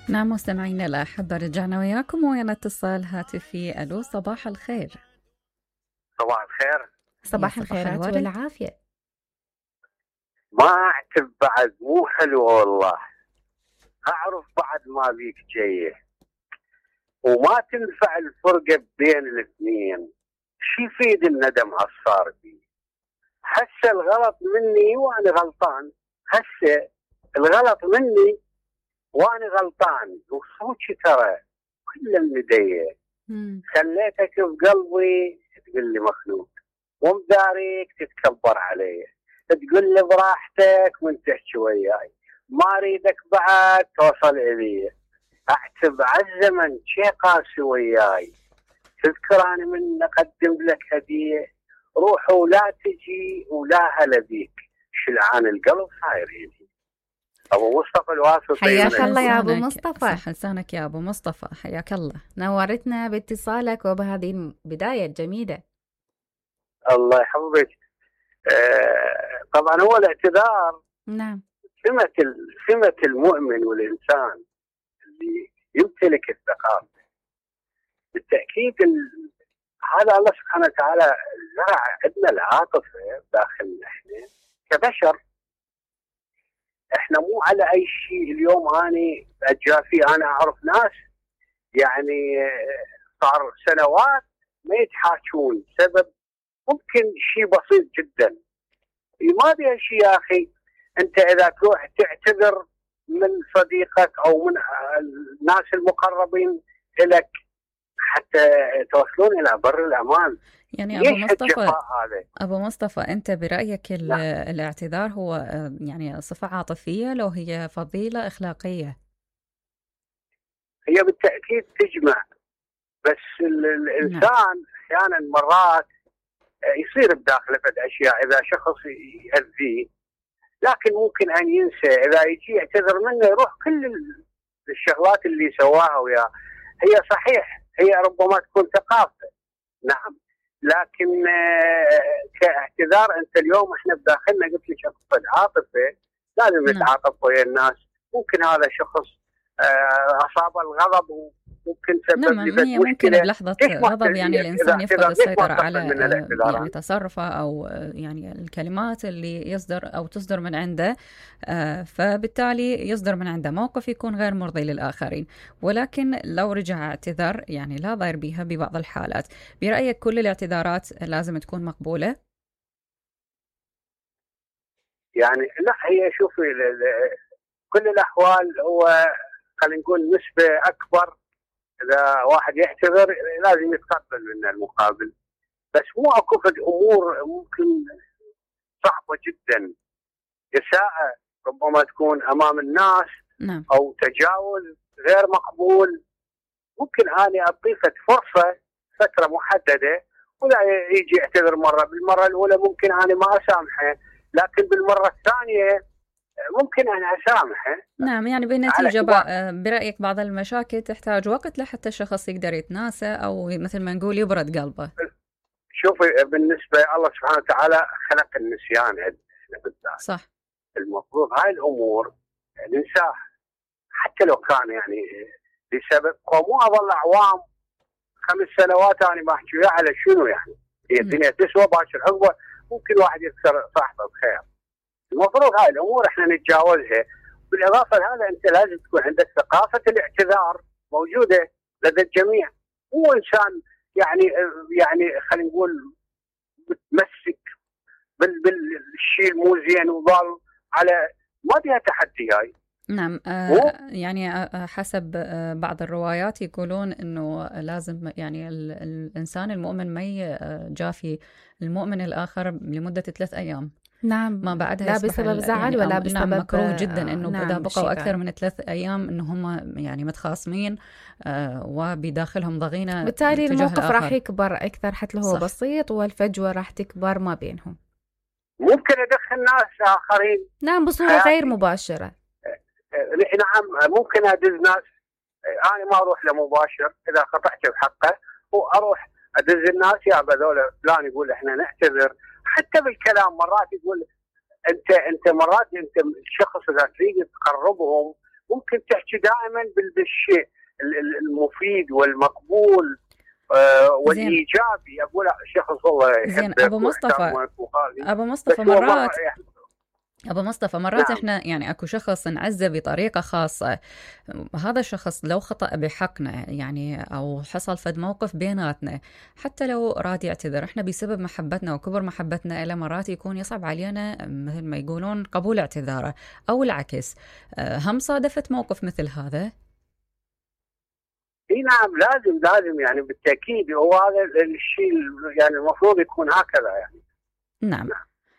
نعم مستمعينا الأحبة، رجعنا وياكم ويانا اتصال هاتفي. ألو، صباح الخير. صباح الخير. صباح الخيرات والعافية. ما أعتب بعد، مو حلو والله. أعرف بعد ما بيك جايه وما تنفع الفرقة بين الاثنين. شي يفيد الندم عالصار بي؟ هسه الغلط مني وأنا غلطان، هسه الغلط مني وأنا غلطان، وصوتي ترى كل المدية خليتك بقلبي تقول لي مخلوق، ومداريك تتكبر علي، تقول لي براحتك من تحكي وياي، ما اريدك بعد توصل الي. اعتب عالزمن شي قاسي وياي، تذكر انا من اقدم لك هديه، روح ولا تجي ولا هلا بيك، شلعان القلب صاير يدي. ابو مصطفى الواسطي. حياك الله يا ابو مصطفى. صح لسانك يا ابو مصطفى، حياك الله، نورتنا باتصالك وبهذه البدايه الجميله. الله يحفظك. طبعا هو الاعتذار نعم سمة المؤمن والإنسان اللي يمتلك الثقافة. بالتأكيد هذا الله سبحانه وتعالى زرع عندنا العاطفة داخلنا احنا كبشر. احنا مو على أي شيء. اليوم أنا أتجافي، أنا أعرف ناس يعني صار سنوات ما يتحاكون سبب ممكن شيء بسيط جدا. ما بيها شيء يا أخي. أنت إذا تروح تعتذر من صديقك أو من الناس المقربين لك حتى توصلون إلى بر الأمان. يعني أبو مصطفى أنت برأيك الاعتذار هو يعني صفة عاطفية لو هي فضيلة أخلاقية؟ هي بالتأكيد تجمع، بس الإنسان أحيانا مرات يصير بداخله فد أشياء إذا شخص يأذيه، لكن ممكن أن ينسى. إذا يجي يعتذر منه يروح كل الشغلات اللي سواها وياه. هي صحيح هي ربما تكون ثقافة، نعم، لكن كاعتذار أنت اليوم إحنا بداخلنا قلت لك أقصد عاطفة، لازم نتعاطف ويا الناس. ممكن هذا شخص أصاب الغضب وممكن سبب لي ممكن بلحظة غضب يعني الإنسان يفقد السيطرة على يعني تصرفه أو يعني الكلمات اللي يصدر أو تصدر من عنده، فبالتالي يصدر من عنده موقف يكون غير مرضي للآخرين. ولكن لو رجع اعتذر يعني لا ضير بها ببعض الحالات. برأيك كل الاعتذارات لازم تكون مقبولة؟ يعني لا، هي شوفي كل الأحوال هو خلينا نقول نسبة أكبر. إذا واحد يعتذر لازم يتقبل منه المقابل، بس مو أكو فد أمور ممكن صعبة جدا، إساءة ربما تكون أمام الناس أو تجاوز غير مقبول. ممكن أنا أضيفت فرصة فترة محددة ولا يجي يعتذر مرة، بالمرة الأولى ممكن أنا ما أسامحه، لكن بالمرة الثانية ممكن أنا أسامحه. نعم، يعني بالنتيجة برأيك بعض المشاكل تحتاج وقت لحتى الشخص يقدر يتناسى أو مثل ما نقول يبرد قلبه. شوفي بالنسبة الله سبحانه وتعالى خلق النسيان عندنا بالذات. صح. المفروض هاي الأمور ننساها حتى لو كان يعني بسبب، ومو أظل أعوام 5 سنوات أنا ما أحكي على شنو يعني. هي الدنيا تسوى باشر عقبة ممكن واحد يكسر صاحبه بخير. المفروض هاي الأمور إحنا نتجاوزها. بالإضافة لهذا أنت لازم تكون عندك ثقافة الاعتذار موجودة لدى الجميع. مو إنسان يعني خلينا نقول متمسك بالشيء المو زين وظل على ما بيها تحدي هاي. نعم، يعني حسب بعض الروايات يقولون إنه لازم يعني الإنسان المؤمن ما يجافي المؤمن الآخر لمدة 3 أيام. نعم، ما بعدها لا بسبب زعل ولا بسبب نعم، مكروه جدا انه نعم اذا بقوا اكثر من 3 ايام انه هم يعني متخاصمين وبداخلهم ضغينه، بالتالي الموقف راح يكبر اكثر حتى لو هو بسيط، والفجوه راح تكبر ما بينهم. ممكن ادخل ناس اخرين، نعم، بصوره غير مباشره. نعم، ممكن ادز ناس. انا ما اروح له مباشر اذا قطعت بحقه، واروح ادز الناس يا بذول فلان يقول احنا نعتذر. حتى بالكلام مرات يقول انت مرات انت الشخص اذا تريد تقربهم ممكن تحكي دائما بالشيء المفيد والمقبول والايجابي. اقول شخص والله زين ابو مصطفى مرات نعم. احنا يعني اكو شخص نعزه بطريقه خاصه، هذا الشخص لو خطأ بحقنا يعني او حصل فد موقف بيناتنا حتى لو راد يعتذر، احنا بسبب محبتنا وكبر محبتنا له مرات يكون يصعب علينا مثل ما يقولون قبول اعتذاره، او العكس. هم صادفت موقف مثل هذا؟ اي نعم، لازم يعني بالتاكيد، هو هذا الشيء يعني المفروض يكون هكذا يعني. نعم.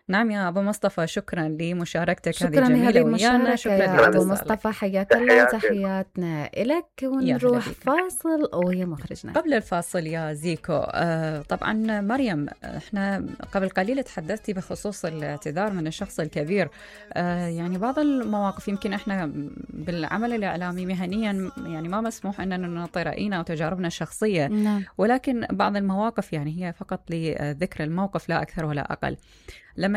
نعم يا أبو مصطفى، شكرا لمشاركتك هذه الجميلة ويانا. شكرا يا أبو مصطفى، حياك الله، تحياتنا إلك. ونروح فاصل ويا مخرجنا. قبل الفاصل يا زيكو، طبعا مريم، احنا قبل قليل تحدثتي بخصوص الاعتذار من الشخص الكبير. يعني بعض المواقف يمكن احنا بالعمل الإعلامي مهنيا يعني ما مسموح أننا نعطي رأينا وتجاربنا الشخصية، ولكن بعض المواقف يعني هي فقط لذكر الموقف لا أكثر ولا أقل. لما